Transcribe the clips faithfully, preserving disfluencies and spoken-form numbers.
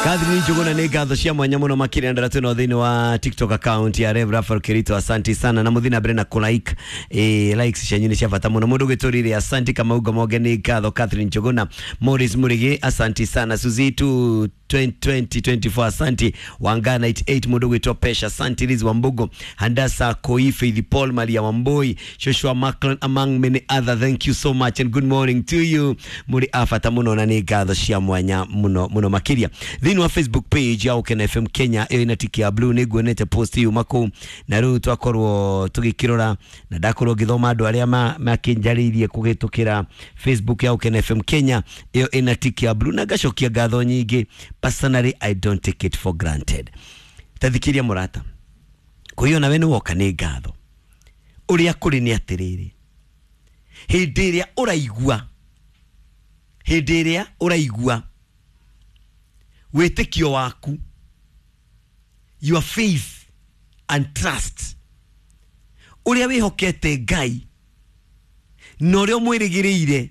Catherine Njuguna nĩ ngatho cia mwanya mũno makĩria ndara twĩna thĩinĩ wa TikTok account ya Rev Raphael Kirito, asanti sana na mũthiĩ na mbere na kũ like eh, likes cianyu nĩ cia bata mũno. Mũndũ ũgĩtũrire asanti Kamau Moge nĩ ngatho. Catherine Njuguna, Morris Murigi asanti sana, Suzy two twenty twenty-four asanti, Wanga ninety-eight mũndũ ũgwĩtwo Pesha asanti, Liz Wambugo, Handasa Koi, Faith Paul, Maria Wamboi, Joshua Macklin among many other, thank you so much and good morning to you. Mũrĩ a bata mũno na nĩ ngatho cia mwanya mũno mũno makĩria. Thĩinĩ wa Facebook page ya Ũkena F M Kenya ĩyo ĩna tiki ya blue nĩ nguonete post yuma kũu na rĩu twakorwo tũgĩkĩrora na ndakorwo ngĩthoma andũ arĩa makĩnjarĩirie kũhĩtũkĩra Facebook ya Ũkena F M Kenya ĩyo ĩna tiki ya blue na ngacokia ngatho nyingĩ. Personally, I don't take it for granted. Tathikiria mũrata kwa nawe nĩ woka nĩ ngatho. Ũrĩa kũrĩ nĩ atĩrĩrĩ, hĩndĩ ĩrĩa ũraigua hĩndĩ ĩrĩa ũraigua wĩtĩkio waku, your faith and trust, ũrĩa wĩhokete Ngai na ũrĩa ũmwĩrĩgĩrĩire,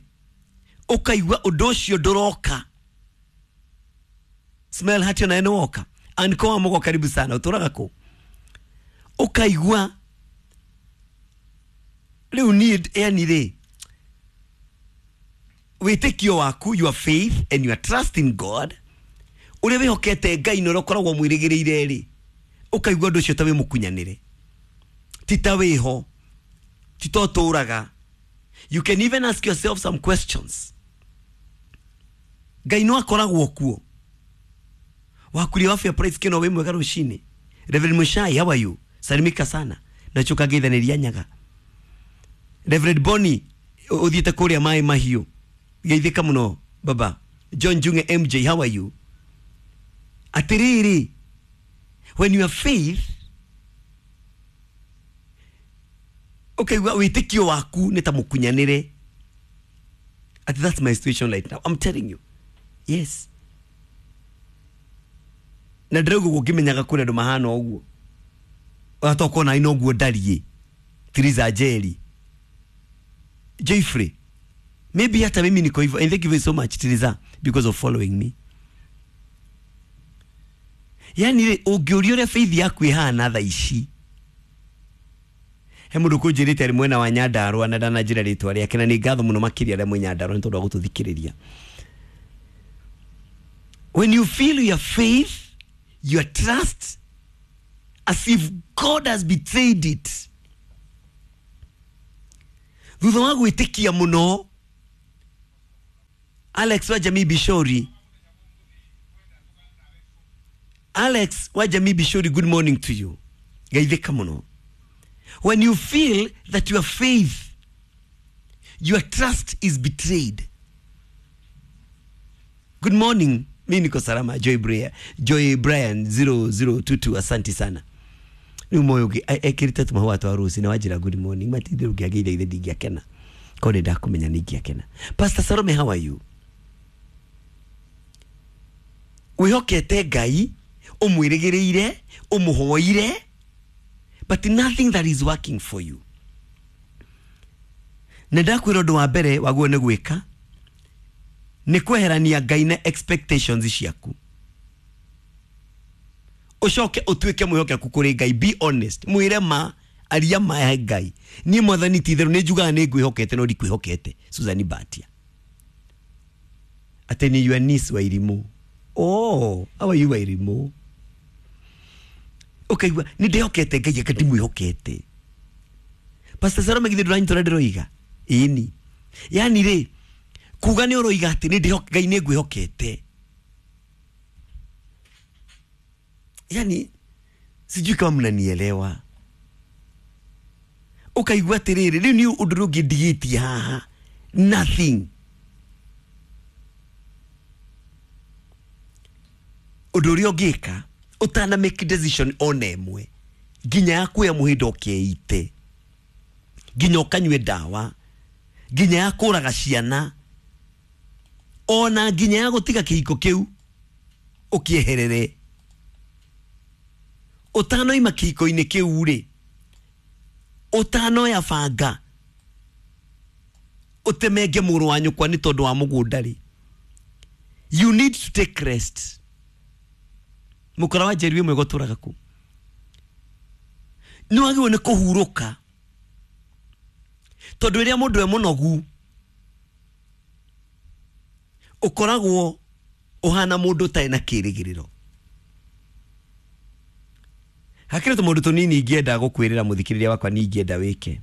ũkaigua ũndũ ũcio ndũroka. Smell hati na eno woka and kwa mugo karibu sana uturaga ku ukaigua riu need yani ri witikio waku, your faith and your trust in God, uria wihokete Ngai no ukoragwo mwirigiriire ri, ukaigua ndu ucio ta wi mukunyanire, ti ta wiho, ti to turaga. You can even ask yourself some questions. Ngai no akoragwo kuo wakuria afya price kino we mwega rucini. Reverend Mushai, how are you? Salimika sana nachoka geithaniria nyaga. Reverend Bonnie uthiete kuria mai mahiu, geithika muno baba. John Junge M J, how are you? Atiriri, when you have faith, okay, witikio waku ni ta mukunyanire. Ati that's my situation right now, I'm telling you. Yes, na ndĩrauga ũguo ngĩmenyaga kũrĩ andũ mahana ũguo, ũgatoka ona ino ũguo ndariĩ. Theresa Njeri, Jeffrey, maybe hata mimi niko hivyo, and thank you so much Theresa because of following me. Yani ũngĩũria ũrĩa faith yaku ĩhana thaa ici, he mũndũ kũnjĩrĩte arĩ mwena wa Nyandarũa na ndananjĩra rĩtwa rĩake, na nĩ ngatho mũno makĩria arĩa mwĩ Nyandarũa nĩ tondũ wa gũtũthikĩrĩria. When you feel your faith, your trust, as if God has betrayed it, thutha wa gwĩtĩkia mũno. Alex wa Jamii Bishori, Alex wa Jamii Bishori, good morning to you. Geithĩka mũno. When you feel that your faith, your trust is betrayed. Good morning. Mimi niko salama. Joy Brian, Joy Brian zero zero two two, asante sana. Ni moyo ekirite tuma watu harusi na wajira good morning matithire ungiageitha ithe ndingiakena ko ni ndakumenya ningiakena. Pastor Salome, how are you? Wihokete Ngai, umwirigiriire, umuhoire, but nothing that is working for you. Na ndakwira undu wa mbere waguo ni gwika ni kweherania Ngai na expectations ciaku, ucoke utuike mwihokeku kuri Ngai. Be honest, mwire ma aria ma ya Ngai. Ni Mwathani ti itheru ni njugaga ni ngwihokete no ndikwihokete. Susan Batia ate ni your niece wa Irimu. Oh, how are you wa Irimu? Ukaigua ni ndihokete Ngai aka ndimwihokete. Pastor Salome githe nduranyita ndiroiga ĩni, yani rĩ kuga nĩ ũroiga atĩ nĩ ndĩhoke Ngai nĩ ngwĩhokete, yani sijui kama mnanielewa. Ukaigua atĩrĩrĩ rĩu nĩ ũndũ ũrĩa ũngĩndigĩtie haha, nothing. Ũndũ ũrĩa ũngĩka ũtana make decision ona ĩmwe, nginya ya kuoya mũhĩndo ũkĩite, nginya ũkanyue ndawa, nginya ya kũraga ciana, ona nginya ya gũtiga kĩhiko kĩu ũkĩeherere. Ũtanoima kĩhiko-inĩ kĩu rĩ, ũtanoya banga ũtemenge mũrũ wa nyũkwa nĩ tondũ wa mũgũnda rĩ, you need to take rest. Mukora wa Njeri wĩ mwega ũtũraga kũ. Nĩ wagĩrĩirwo nĩ kũhurũka, tondũ rĩrĩa mũndũ e mũnogu ũkoragwo ũhana mũndũ ũtarĩ na kĩrĩgĩrĩro. Hakĩrĩ tũmaũndũ tũnini ingĩenda gũkwĩrĩra mũthikĩrĩria wakwa, nĩ ingĩenda wĩke.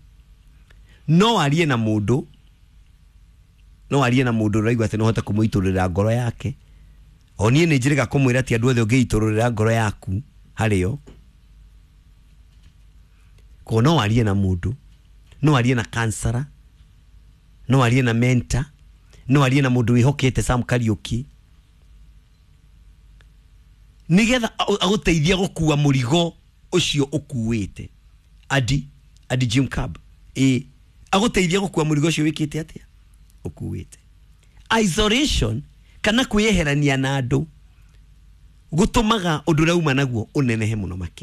No warie na mũndũ, no warie na mũndũ ũraigua atĩ no ũhote kũmũitũrũrĩra ngoro yake. O niĩ nĩ njĩrĩga kũmwĩra ti andũ othe ũngĩitũrũrĩra ngoro yaku harĩo. Koguo no warie na mũndũ, no warie na kansara, no warie na mentor, no warie na mũndũ wĩhokete Sam Kariuki, nigetha agũteithie gũkua mũrigo ũcio ũkuĩte. Adi Adi Jim Cab ĩ agũteithie gũkua mũrigo ũcio wĩkĩte atĩa, ũkuĩte. Isolation kana kwĩyeherania na andũ gũtũmaga ũndũ ũrĩa uma naguo ũnenehe mũno makĩria.